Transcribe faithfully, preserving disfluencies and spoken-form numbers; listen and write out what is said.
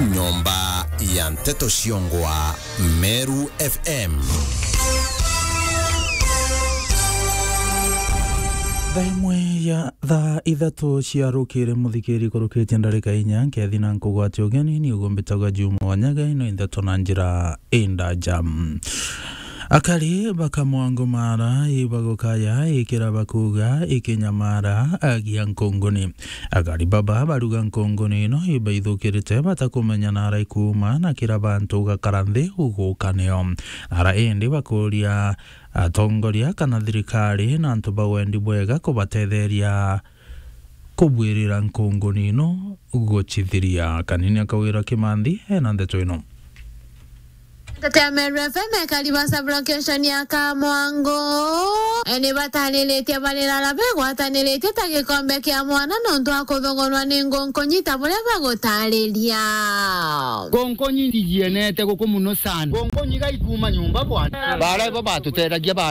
Nyomba ya nteto ciongwa Meru F M. Thaa imwe ya thaa ithatu cia rukiri, muthikiri, kurukitie ndarika inya, nkethi na nkugwate ugeni, ni ugumbitaga Juma Wanyaga, ino indeto na njira indaja. Akari ba Kamwango Mara ibagukaya ikira bakuga ikinyamara agia nkunguni. Akari baba baruga nkunguni ino ibaithukirite batakumenya nara ikuuma na kira bantu ugakara nthi uguka nio. Ara indi bakuria atongoria kana thirikari na antu ba wendi bwega kubatetheria kubwirira nkunguni ino gucithiria. Kanini akawira Kimanthi ena ndeto ino. Nteto ya Meru F M, ekari ba sub-location ya Kamwango, e, ni batariritie barira ara begwataniritie ta gikombe kia mwana nontu wa kuthogonwa ni ngunkunyi ta buria bagutariria. Ngunkunyi ndijienete guku muno sana. Ngunkunyi gaikuma nyumba bwana. Bara ibo batutethagua ba